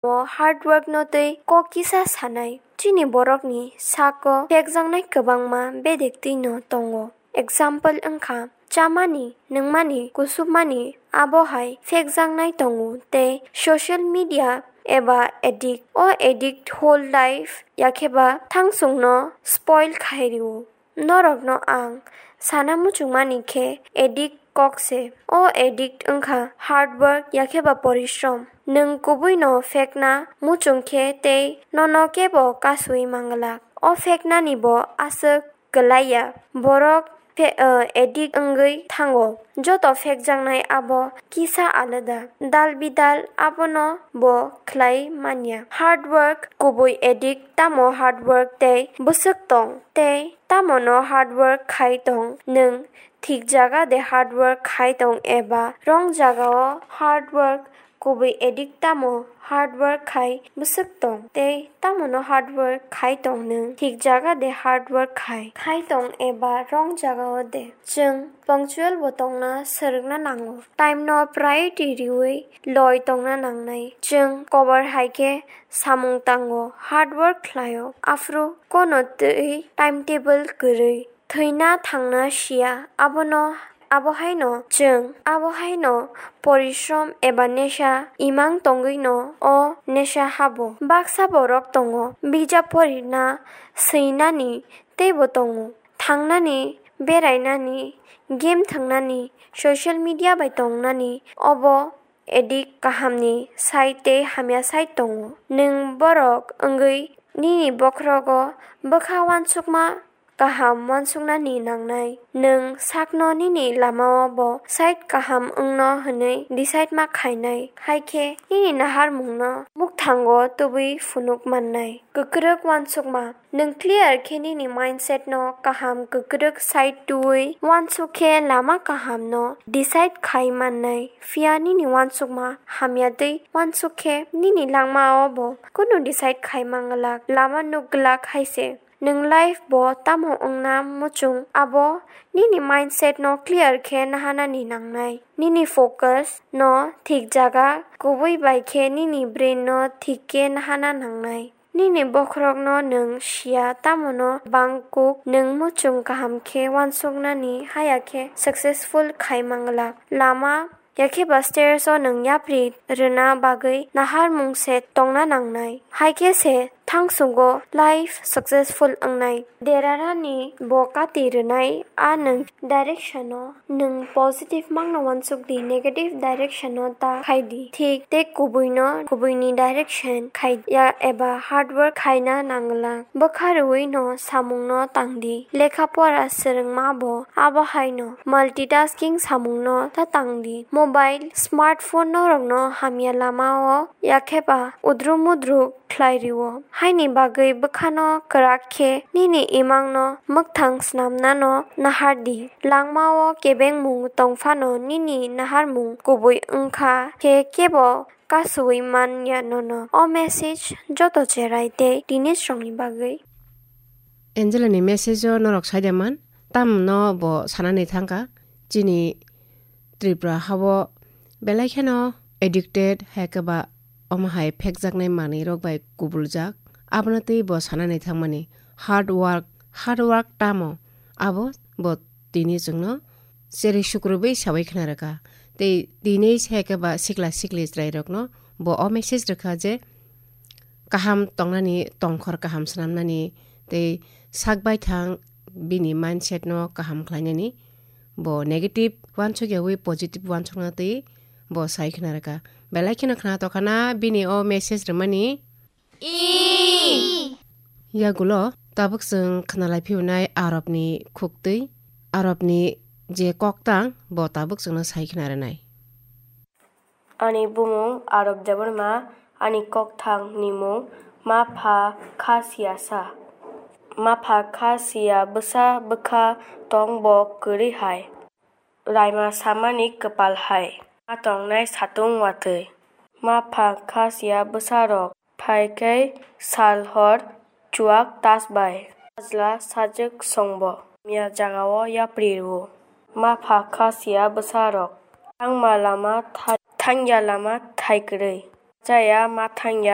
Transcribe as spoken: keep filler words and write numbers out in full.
O hard work no tei kok kisa sanai. Chini borokni sako phekjaknai kwbangma bedek twi no tongo. Example wngkha, chamani, nungmani, kusupmani, abo hai phekjaknai tongo tei social media eba addict. O addict whole life yakheba thangsungno spoil khai rio. Norokno ang sana muchungmani khe addict kok se. O addict wngkha hard work yakheba porishrom. Nwng kubuino phekna muchung khe tei nono kebo kasui manglak. O pheknani bo aswk kwlaiya. Borok phe-, uh, addict wngwi thango. Joto phekjaknai abo kisa alada. Dal bidal abono bo khlai manya. Hard work kubui addict tamo hard work tei bwswk tong tei tamono hard work khai tong nwng thik jaga de hard work khai tong eba wrong jagao hard work kubui addict tamo hard work khai bwswk tong tei tamono hard work khai tong nwng thik jaga de hard work khai khai tong eba wrong jagao de. Chwng punctual bo tongna swrwngna nango. Time no priority riwi loi tongna nangnai. Chwng kobar hai khe samung tango, hard work khlaio, aphuru kono twi timetable kwrwi. Thwina thangna siya, abono, abo haino chwng, abo haino porishrom eba nesha imang tongwino o nesha habo. Baksa borok tongo, bijap porina swinani teibo tongo, thangnani, berainani, game thwngnani, social media bai tongnani, obo addict kahamni side tei hamya side tongo. Nwng borok wngwi nini bokhorogo bwkha uansukma kaham uansuknani nangnai. Nwng sakno nini lamao bo side kaham wngno hwnwi decide ma khainai. Hai khe nini naharmungno mukthango tubui phunuk mannai. Kwkrwk uansukma. Nwng clear khe nini mindset no kaham kwkrwk side twiwi uansuk khe lama kaham no decide khai mannai. Phiya nini uansukma hamya twi uansuk khe nini langmao bo kunu decide khai manglak, lama nukglak hai se. Nwng life bo tamo wngna muchung abo nini mindset no clear khe nahanani nangnai. Nini focus no thik jaga kubui bai khe nini brain no thik khe nahana nangnai. Nini bokhorokno nwng siya, tamono bangkuk nwng muchung kaham khe uansuknani haya khe successful khai manglak. Lama yakheba stairs o nwng yapri rwna bagwi naharmung se tongna nangnai. Hai khe se thangsugo life successful wngnai. Derarani bo kati rwnai a nwng direction o. Nwng positive mangno uansuk di, negative direction o ta khai di. Thik tei kubui no, kubui ni direction khai ya eba hard work khaina nangla. Bwkha rwui no samung no tang di. Lekha pora swrwngma bo abo hai no. Multitasking samung no ta tang di. Mobile, smartphone norok no hamya lama o yakheba udru mudru khlai rio. Haini bagwi bwkhano kwrak khe nini imangno mwkthang snamnano nahar di. Langmao kebengmung tong phano nini naharmung kubui wngkha khe kebo kasui man ya nono. O message joto cherai tei teenage rokni bagwi. Angela ni message o norok sai de man, tamno bo sanani thangkha. Chini Tripura hao belai kheno addicted, hai khe ba omo hai phekjaknai manwi rok bai kubuljak. Abono twi bo sanani thangmani hard work, hard work tamo abo bo tini chwngno cheri sukrubwi sawi khna rwkha. Tei tini se hai khe ba sikla sikli chwrai rokno bo o message rwkha je kaham tongnani, tongkhor kaham swnamnani tei sak baithang bini mindset no kaham khlainani. Bo negative uansuk yawi positive uansukna twi bo sai khna rwkha. Belai kheno khna tokha na bini o message rwmani. Yagulo tabuk chwng khna lai phiyunai Arabni khuktwi, Arabni je koktang bo tabuk chwngno sai khna rwnai. Ani bumung Arab Debbarma, ani kokthang ni mung Mapha Khasiya sa. Mapha Khasiya bwsa bwkha tong bo kwrwi hai. Raima samani kwpal hai. Ma tongnai satung watwi. Mapha Khasiya bwsa rok. Phai khe sal hor chuak tas bai. Sajla sajwk songbo. Hamya jagao yapri rwo. Mapha Khasiya bwsa rok. Thangma lama thai-, thangya lama thai kwrwi. cha ya ma tháng ya.